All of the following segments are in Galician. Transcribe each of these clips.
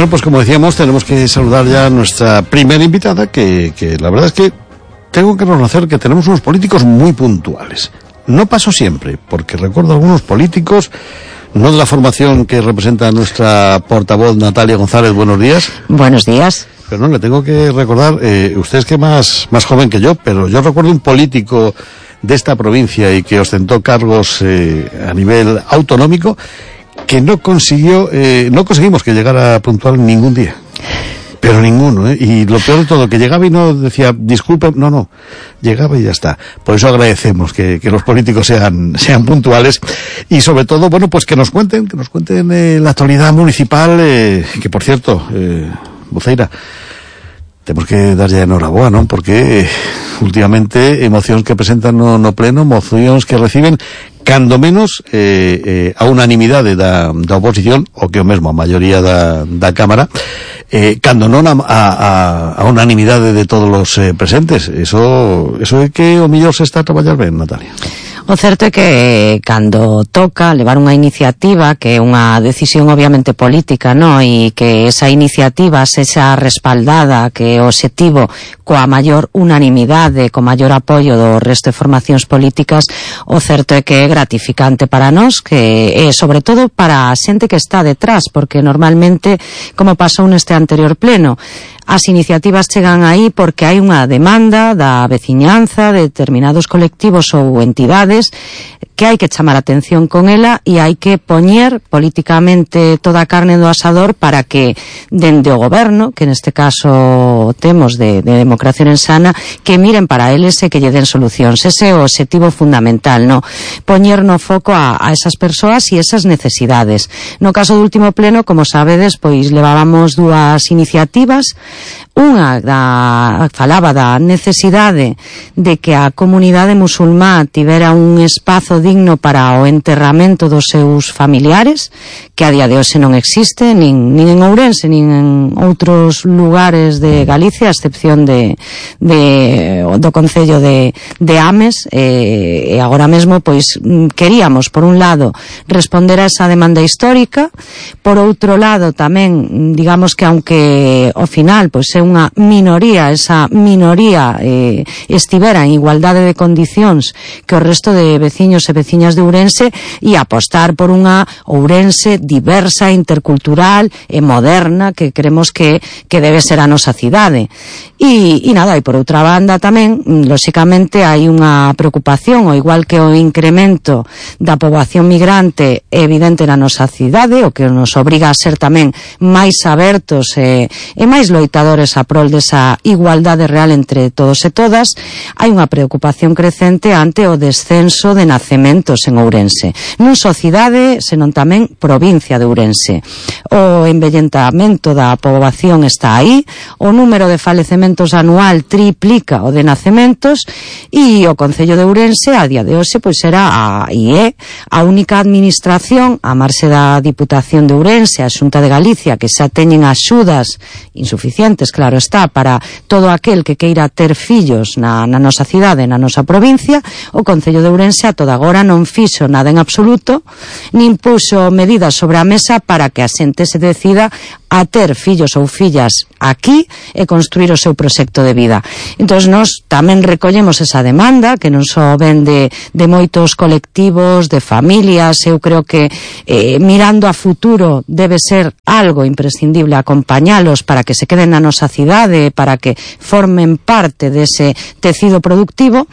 Bueno, pues como decíamos, tenemos que saludar ya a nuestra primera invitada, que la verdad es que tengo que reconocer que tenemos unos políticos muy puntuales. No pasó siempre, porque recuerdo algunos políticos, no de la formación que representa nuestra portavoz Natalia González. Buenos días. Buenos días. Pero no, le tengo que recordar, usted es que más joven que yo, pero yo recuerdo un político de esta provincia y que ostentó cargos a nivel autonómico, que no conseguimos que llegara puntual ningún día. Pero ninguno, y lo peor de todo, que llegaba y no decía, disculpe, no, llegaba y ya está. Por eso agradecemos que los políticos sean puntuales, y sobre todo, bueno, pues que nos cuenten la actualidad municipal, que por cierto, Buceira, tenemos que dar ya enhorabuena, ¿no? Porque últimamente mocións que presentan no pleno, mocións que reciben cando menos a unanimidade da oposición, o que o mesmo a maioría da Cámara, cando non a unanimidade de todos os presentes. Eso é que o mellor se está a traballar ben, Natalia. O certo é que cando toca levar unha iniciativa, que é unha decisión obviamente política, no? E que esa iniciativa sexa respaldada, que o obxectivo coa maior unanimidade, co maior apoio do resto de formacións políticas, o certo é que é gratificante para nós, que é sobre todo para a xente que está detrás, porque normalmente, como pasou neste anterior pleno, as iniciativas chegan aí porque hai unha demanda da veciñanza, de determinados colectivos ou entidades, que hai que chamar a atención con ela e hai que poñer políticamente toda a carne do asador para que dende o goberno, que neste caso temos de Democracia Orensana, que miren para eles e que lle den solucións. Ese é o obxectivo fundamental, no? Poñer no foco a esas persoas e esas necesidades. No caso do último pleno, como sabedes, pois levábamos dúas iniciativas. Unha falaba da necesidade de que a comunidade musulmá tivera un espazo digno para o enterramento dos seus familiares, que a día de hoxe non existe nin en Ourense nin en outros lugares de Galicia, a excepción do concello de Ames, e agora mesmo pois queríamos, por un lado, responder a esa demanda histórica, por outro lado tamén, digamos que aunque ao final pois é unha minoría, esa minoría estivera en igualdade de condicións que o resto de veciños e veciñas de Ourense, e apostar por unha Ourense diversa, intercultural e moderna, que creemos que debe ser a nosa cidade. E nada, e por outra banda tamén, lóxicamente, hai unha preocupación, ao igual que o incremento da poboación migrante é evidente na nosa cidade, o que nos obriga a ser tamén máis abertos e máis loitadores a prol desa igualdade real entre todos e todas. Hai unha preocupación crecente ante o descenso de nacementos en Ourense, non só cidade, senón tamén provincia de Ourense. O envellentamento da poboación está aí, o número de falecementos anual triplica o de nacementos, e o concello de Ourense a día de hoxe pois era a única administración, a marxe da Diputación de Ourense, a Xunta de Galicia, que xa teñen axudas insuficientes, claro está, para todo aquel que queira ter fillos na nosa cidade, na nosa provincia. O concello de Ourense a toda agora non fixo nada en absoluto, nin puxo medidas sobre a mesa para que a xente se decida a ter fillos ou fillas aquí e construir o seu proxecto de vida. Entón, nós tamén recollemos esa demanda, que non só ven de moitos colectivos, de familias. Eu creo que mirando a futuro debe ser algo imprescindible acompañalos para que se queden na nosa cidade, para que formen parte dese tecido productivo.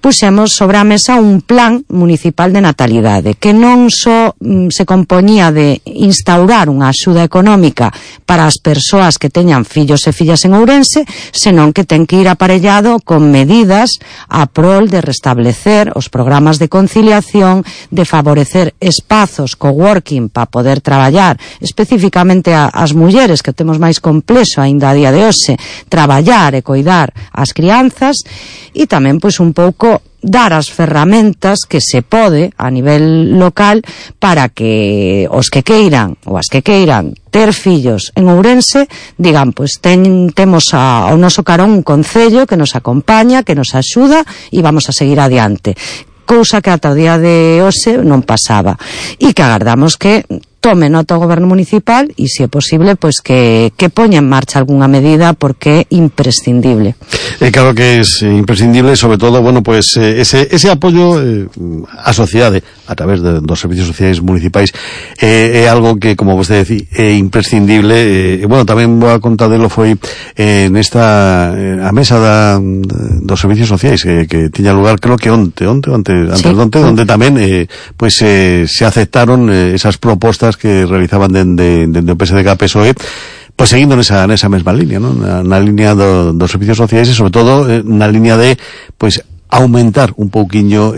Puxemos sobre a mesa un plan municipal de natalidade, que non só se compoñía de instaurar unha axuda económica para as persoas que teñan fillos e fillas en Ourense, senón que ten que ir aparellado con medidas a prol de restablecer os programas de conciliación, de favorecer espazos coworking para poder traballar, especificamente as mulleres, que temos máis complexo aínda a día de hoxe, traballar e coidar as crianzas, e tamén pois un pouco dar as ferramentas que se pode a nivel local para que os que queiran ou as que queiran ter fillos en Ourense digan, pois temos ao noso carón un concello que nos acompaña, que nos axuda e vamos a seguir adiante. Cousa que ata o día de hoxe non pasaba, e que agardamos que tome nota o goberno municipal e, se é posible, pois que poña en marcha algunha medida, porque é imprescindible. Claro que es imprescindible, sobre todo, bueno, pues ese apoio á sociedade a través dos servicios sociais municipais é algo que, como vostede decía, é imprescindible. Bueno, tamén vou a contadelo foi nesta a mesa dos servicios sociais que tiña lugar, creo que onte, donde tamén pues se aceptaron esas propostas que realizaban dende o PSDG-PSOE, pues seguindo nesa mesma línea, ¿no? Na línea dos servicios sociais e, sobre todo, na línea de, pues, aumentar un pouquiño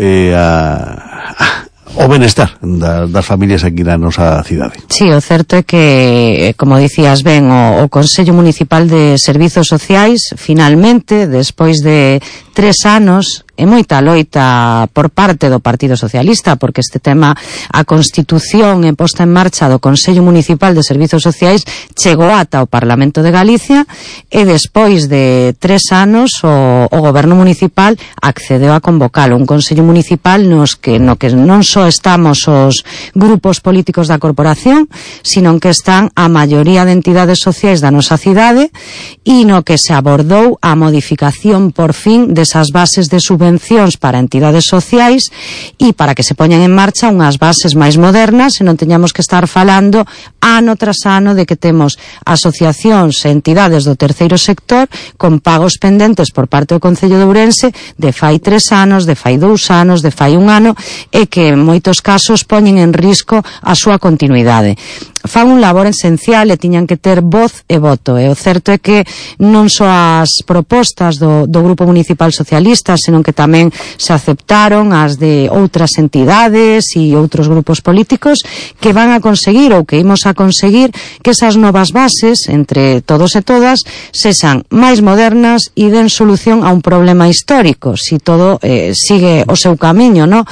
o benestar das familias aquí na nosa cidade. Sí, o certo é que, como dicías ben, o Consello Municipal de Servizos Sociais, finalmente, despois de 3 anos, e moita loita por parte do Partido Socialista, porque este tema, a Constitución e posta en marcha do Consello Municipal de Servizos Sociais, chegou ata o Parlamento de Galicia, e despois de 3 anos o Goberno Municipal accedeu a convocalo, un Consello Municipal no que non só estamos os grupos políticos da corporación, sino que están a maioría de entidades sociais da nosa cidade, e no que se abordou a modificación por fin desas bases de subvencións para entidades sociais, e para que se poñan en marcha unhas bases máis modernas e non teñamos que estar falando ano tras ano de que temos asociacións e entidades do terceiro sector con pagos pendentes por parte do Concello de Ourense de fai 3 anos, de fai 2 anos, de fai 1 ano, e que en moitos casos poñen en risco a súa continuidade. Fan un labor esencial e tiñan que ter voz e voto, e o certo é que non só as propostas do Grupo Municipal Socialista, senón que tamén se aceptaron as de outras entidades e outros grupos políticos, que van a conseguir, ou que imos a conseguir, que esas novas bases, entre todos e todas, sexan máis modernas e den solución a un problema histórico, si todo sigue o seu camiño, no?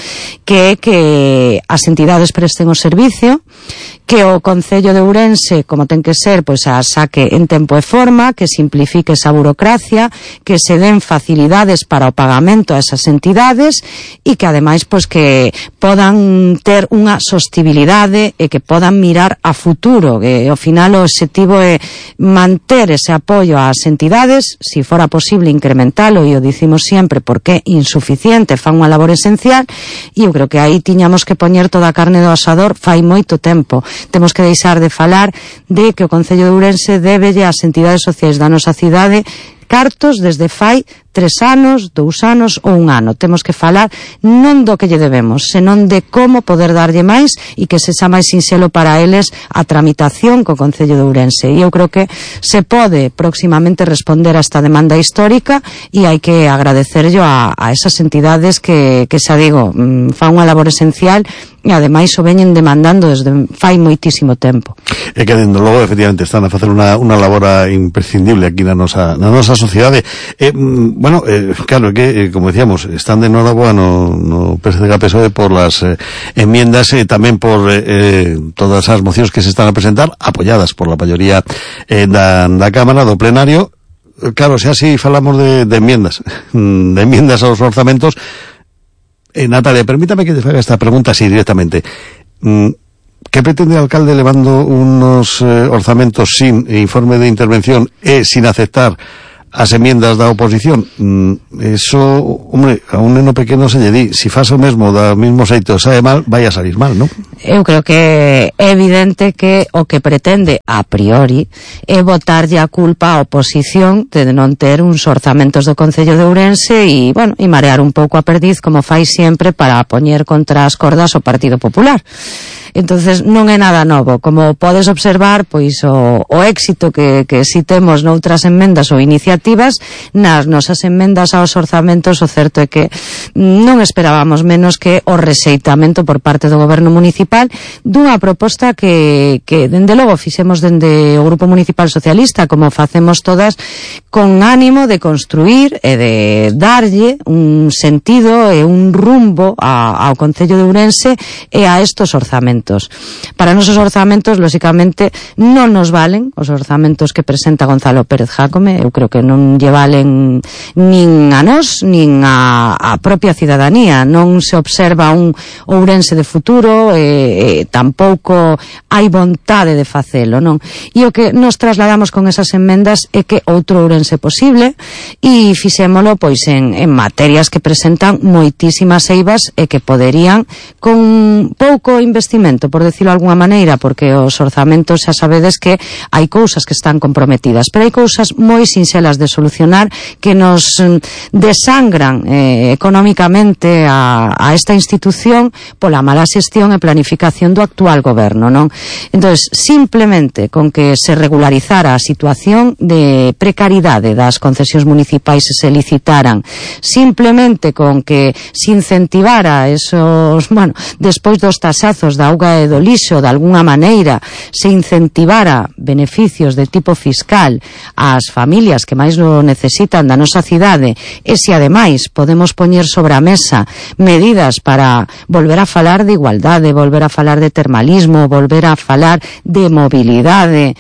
Que é que as entidades presten o servicio, que o Concello de Ourense, como ten que ser, pois a saque en tempo e forma, que simplifique esa burocracia, que se den facilidades para o pagamento a esas entidades, e que ademais pois que podan ter unha sostibilidade e que podan mirar a futuro, que ao final o objetivo é manter ese apoio ás entidades, si fora posible incrementalo, e o dicimos sempre porque é insuficiente, fan unha labor esencial, e eu creo que aí tiñamos que poñer toda a carne do asador fai moito tempo. Temos que deixar de falar de que o Concello de Ourense débelle ás entidades sociais da nosa cidade cartos desde fai 3 anos, 2 anos ou 1 ano. Temos que falar non do que lle debemos, senón de como poder darlle máis e que sexa máis sinxelo para eles a tramitación co Concello de Ourense. E eu creo que se pode próximamente responder a esta demanda histórica, e hai que agradecerlo a esas entidades que xa digo, fan unha labor esencial e ademais o veñen demandando desde fai moitísimo tempo. E que, dende logo, efectivamente, están a facer unha labor imprescindible aquí na nosa sociedade. Bueno, claro, que, como decíamos, están de enhorabuena no PSDG-PSOE por las enmiendas, tamén por todas as mocións que se están a presentar, apoyadas por la mayoría da Cámara, do plenario. Claro, se así falamos de enmiendas aos orzamentos. Natalia, permítame que te haga esta pregunta así directamente. ¿Qué pretende el alcalde levando unos orzamentos sin informe de intervención e sin aceptar as enmiendas da oposición? Eso, hombre, a un neno pequeno se lle di, si faz o mesmo da mismo xeito sae mal, vai a salir mal, non? Eu creo que é evidente que o que pretende a priori é botarlle a culpa á oposición de non ter uns orzamentos do Concello de Ourense e, bueno, e marear un pouco a perdiz, como fai sempre, para poñer contra as cordas o Partido Popular. Entonces non é nada novo. Como podes observar, pois o éxito que si temos noutras enmendas ou iniciativas, nas nosas enmendas aos orzamentos, o certo é que non esperábamos menos que o rexeitamento por parte do Goberno Municipal dunha proposta que dende logo fixemos dende o Grupo Municipal Socialista, como facemos todas, con ánimo de construir e de darlle un sentido e un rumbo ao Concello de Ourense e a estos orzamentos. orzamentos. Para nosos orzamentos, lóxicamente, non nos valen os orzamentos que presenta Gonzalo Pérez Jácome. Eu creo que non lle valen nin a nós, nin a propia cidadanía. Non se observa un Ourense de futuro, tampouco hai vontade de facelo, non? E o que nos trasladamos con esas enmendas é que outro Ourense posible, e fixémolo pois en materias que presentan moitísimas eivas e que poderían, con pouco investimento, por decirlo de alguna maneira, porque os orzamentos xa sabedes que hai cousas que están comprometidas, pero hai cousas moi sinxelas de solucionar que nos desangran económicamente a esta institución pola mala xestión e planificación do actual goberno, non? Entonces, simplemente con que se regularizara a situación de precariedade das concesións municipais e se licitaran, simplemente con que se incentivara esos, bueno, despois dos taxazos da auga e do lixo, de alguna maneira se incentivara beneficios de tipo fiscal ás familias que máis lo necesitan da nosa cidade, e se ademais podemos poñer sobre a mesa medidas para volver a falar de igualdade, volver a falar de termalismo, volver a falar de mobilidade,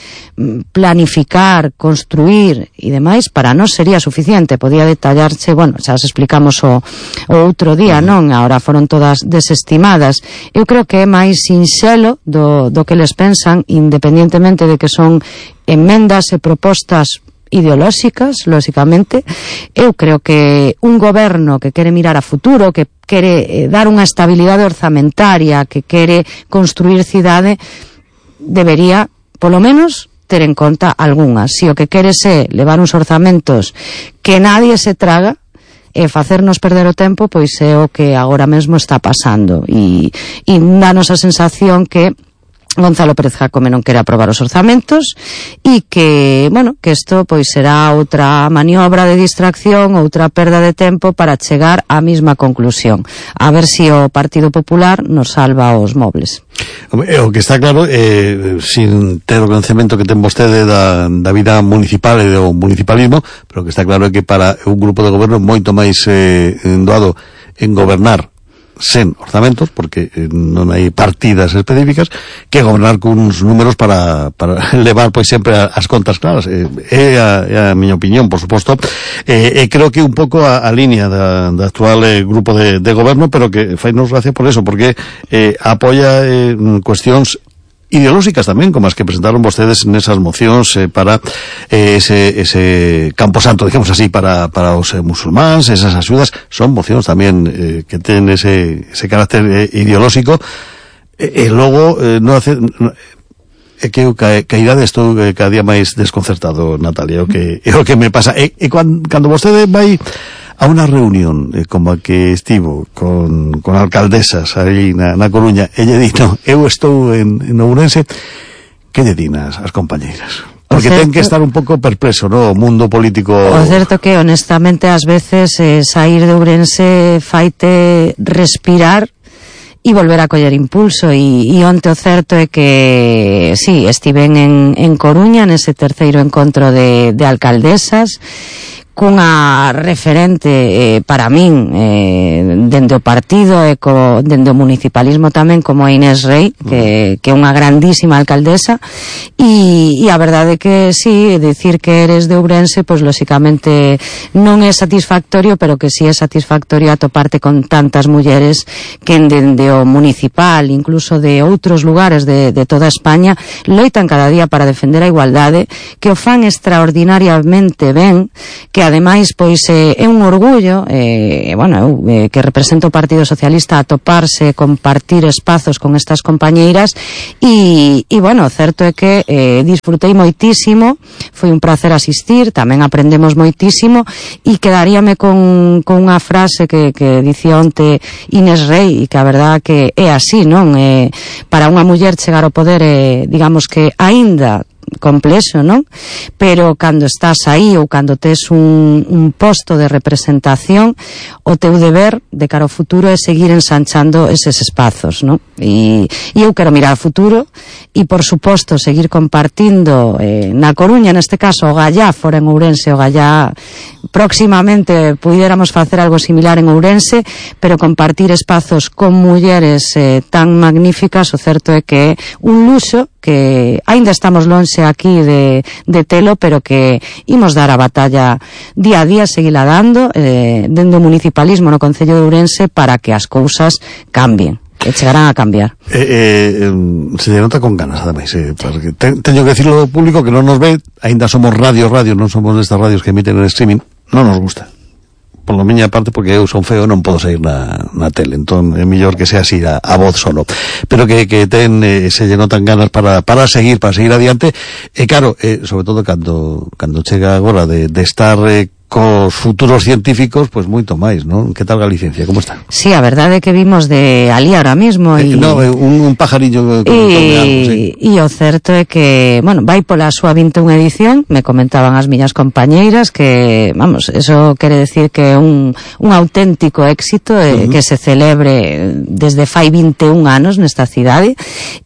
planificar, construir e demais, para nós sería suficiente. Podía detallarse, bueno, xa as explicamos o outro día, non? Agora foron todas desestimadas. Eu creo que é máis sinxelo do que les pensan, independientemente de que son enmendas e propostas ideolóxicas, lóxicamente. Eu creo que un goberno que quere mirar a futuro, que quere dar unha estabilidade orzamentaria, que quere construir cidade, debería, polo menos, ter en conta algunhas. Se o que quere é levar uns orzamentos que nadie se traga e facernos perder o tempo, pois é o que agora mesmo está pasando, e danos a sensación que Gonzalo Pérez Jácome non quere aprobar os orzamentos, e que, bueno, que isto pois será outra maniobra de distracción, outra perda de tempo para chegar á mesma conclusión. A ver se o Partido Popular nos salva os mobles. O que está claro, sin ter o conhecemento que ten vostede da vida municipal e do municipalismo, pero o que está claro é que para un grupo de goberno moito máis doado en gobernar sen orzamentos, porque non hai partidas específicas, que gobernar con uns números para levar pois sempre as contas claras. É a miña opinión, por suposto, e creo que un pouco a línea da actual grupo de goberno, pero que fainos gracia por eso, porque apoia cuestións ideolóxicas tamén, como as que presentaron vostedes nesas mocións para ese camposanto, digamos así, para os musulmáns. Esas axudas son mocións tamén que ten ese carácter ideolóxico, e logo non hace... É que eu cairade estou cada día máis desconcertado, Natalia, é o que me pasa. E cando vostede vai a unha reunión como a que estivo con alcaldesas aí na Coruña, e lle dito, eu estou en Ourense, que lle din as compañeiras? Porque ten que estar un pouco perplexo, no, o mundo político. O certo que, honestamente, ás veces sair de Ourense faite respirar e volver a coller impulso, e onte o certo é que sí, estiven en Coruña nese terceiro encontro de alcaldesas, cunha referente para min dende o partido e dende o municipalismo tamén, como a Inés Rei, que é unha grandísima alcaldesa, e a verdade é que sí, dicir que eres de Ourense, pois lóxicamente non é satisfactorio, pero que sí é satisfactorio atoparte con tantas mulleres que dende o municipal, incluso de outros lugares de toda España, loitan cada día para defender a igualdade, que o fan extraordinariamente ben, que ademais pois é un orgullo, bueno, que represento o Partido Socialista, atoparse, compartir espazos con estas compañeiras, e bueno, certo é que disfrutei moitísimo, foi un placer asistir, tamén aprendemos moitísimo, e quedaríame con unha frase que dicía onte Inés Rei, e que a verdad que é así, non? Para unha muller chegar ao poder, digamos que aínda complexo, non? Pero cando estás aí ou cando tes un posto de representación, o teu deber de cara ao futuro é seguir ensanchando eses espazos, non? E eu quero mirar ao futuro e, por suposto, seguir compartindo na Coruña, neste caso, o Gallá, fora en Ourense, o Gallá próximamente puidéramos facer algo similar en Ourense, pero compartir espazos con mulleres tan magníficas, o certo é que é un luxo que aínda estamos lonxe aquí de telo, pero que imos dar a batalla día a día, seguila dando dende o municipalismo no Concello de Ourense para que as cousas cambien. E chegarán a cambiar. Se lle nota con ganas, ademais, porque teño que decirlo ao público que non nos ve, aínda somos radio, non somos destas radios que emiten en streaming, non nos gusta. Por lo miña parte, porque eu son feo, non podo sair na tele, entón é mellor que sea así a voz solo, pero que se lle notan ganas para seguir adiante, e claro, sobre todo cando chega agora de estar cos futuros científicos, pois moito máis, non? Que tal Galicia? Como está? Sí, a verdade é que vimos de ali ahora mismo un pajarillo e o certo é que, bueno, vai pola súa 21 edición, me comentaban as miñas compañeiras que, vamos, eso quere decir que é un auténtico éxito que se celebre desde fai 21 anos nesta cidade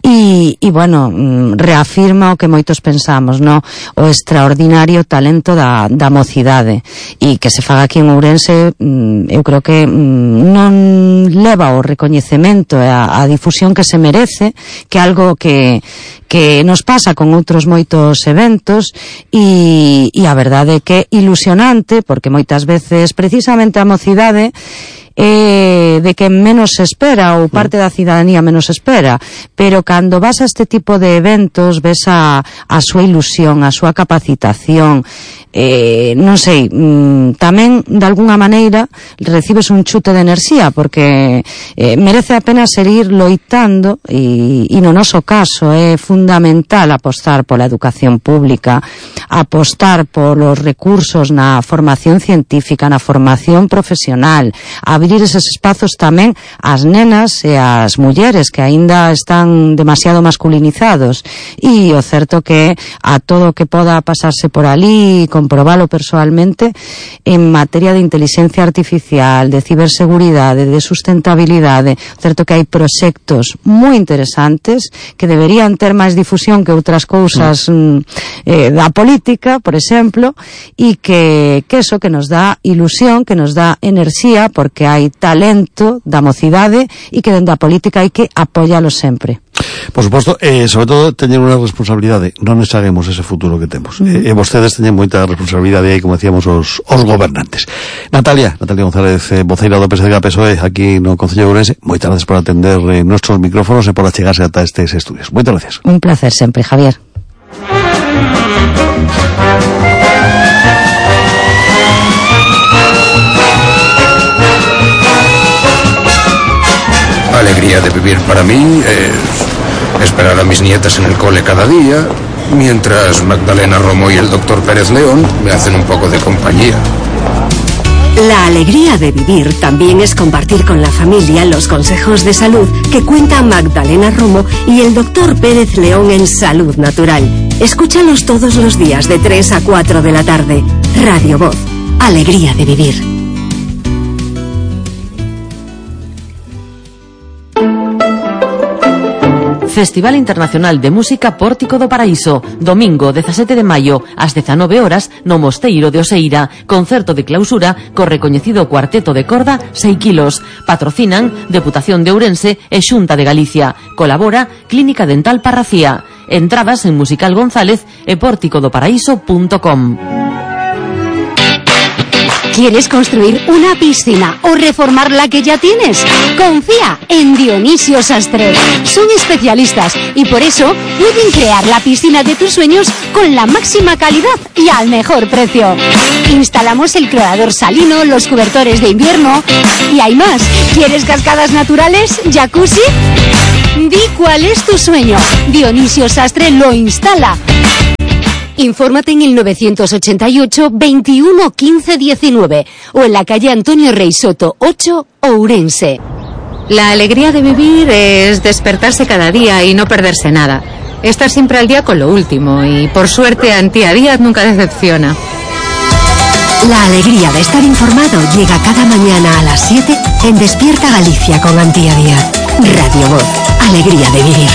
e bueno, reafirma o que moitos pensamos, no? O extraordinario talento da mocidade, e que se faga aquí en Ourense, eu creo que non leva o recoñecemento e a difusión que se merece, que é algo que nos pasa con outros moitos eventos, e a verdade é que é ilusionante, porque moitas veces precisamente a mocidade de que menos se espera, ou parte da cidadanía menos espera, pero cando vas a este tipo de eventos ves a súa ilusión, a súa capacitación, non sei, tamén de alguna maneira recibes un chute de enerxía, porque merece a pena seguir loitando, e no noso caso é fundamental apostar pola educación pública, apostar polos recursos na formación científica, na formación profesional, abrir eses espazos tamén ás nenas e ás mulleres que aínda están demasiado masculinizados, e o certo que a todo o que poda pasarse por ali, comprobalo persoalmente, en materia de inteligencia artificial, de ciberseguridade, de sustentabilidade, certo que hai proxectos moi interesantes que deberían ter máis difusión que outras cousas da política, por exemplo, e que eso que nos dá ilusión, que nos dá enerxía, porque hai talento da mocidade e que dende a política hai que apoialo sempre. Por suposto, sobre todo teñen unha responsabilidade, non negaremos ese futuro que temos, e vostedes teñen moita responsabilidade aí, como decíamos, os gobernantes. Natalia González, voceira do PSDG-PSOE aquí no Concello de Ourense, moitas gracias por atender nuestros micrófonos e por achegarse ata estes estudios. Moitas gracias. Un placer sempre, Javier. La alegría de vivir para mí es esperar a mis nietas en el cole cada día, mientras Magdalena Romo y el doctor Pérez León me hacen un poco de compañía. La alegría de vivir también es compartir con la familia los consejos de salud que cuentan Magdalena Romo y el doctor Pérez León en Salud Natural. Escúchalos todos los días de 3 a 4 de la tarde. Radio Voz. Alegría de vivir. Festival Internacional de Música Pórtico do Paraíso, domingo 17 de maio ás 19 horas no Mosteiro de Oseira, concerto de clausura co recoñecido cuarteto de corda 6 kilos. Patrocinan Deputación de Ourense e Xunta de Galicia. Colabora Clínica Dental Parracía. Entradas en Musical González e porticodoparaíso.com. ¿Quieres construir una piscina o reformar la que ya tienes? Confía en Dionisio Sastre. Son especialistas y por eso pueden crear la piscina de tus sueños con la máxima calidad y al mejor precio. Instalamos el clorador salino, los cobertores de invierno y hay más. ¿Quieres cascadas naturales? ¿Jacuzzi? Di cuál es tu sueño. Dionisio Sastre lo instala. Infórmate en el 988 21 15 19 o en la calle Antonio Rey Soto 8, Ourense. La alegría de vivir es despertarse cada día y no perderse nada. estar siempre al día con lo último y por suerte Antía Díaz nunca decepciona. La alegría de estar informado llega cada mañana a las 7 en Despierta Galicia con Antía Díaz. Radio Voz, alegría de vivir.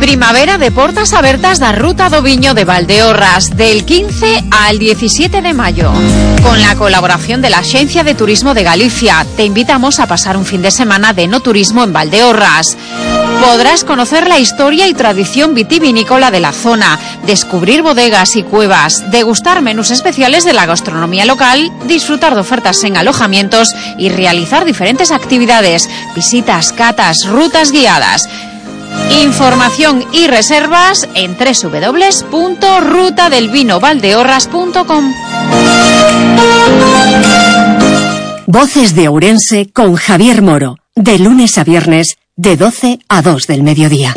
Primavera de portas abertas da Ruta do Viño de Valdeorras del 15 al 17 de mayo. Con la colaboración de la Axencia de Turismo de Galicia, te invitamos a pasar un fin de semana de enoturismo en Valdeorras. Podrás conocer la historia y tradición vitivinícola de la zona, descubrir bodegas y cuevas, degustar menús especiales de la gastronomía local, disfrutar de ofertas en alojamientos y realizar diferentes actividades, visitas, catas, rutas guiadas. Información y reservas en www.rutadelvinovaldeorras.com. Voces de Ourense con Javier Moro, de lunes a viernes, de 12 a 2 del mediodía.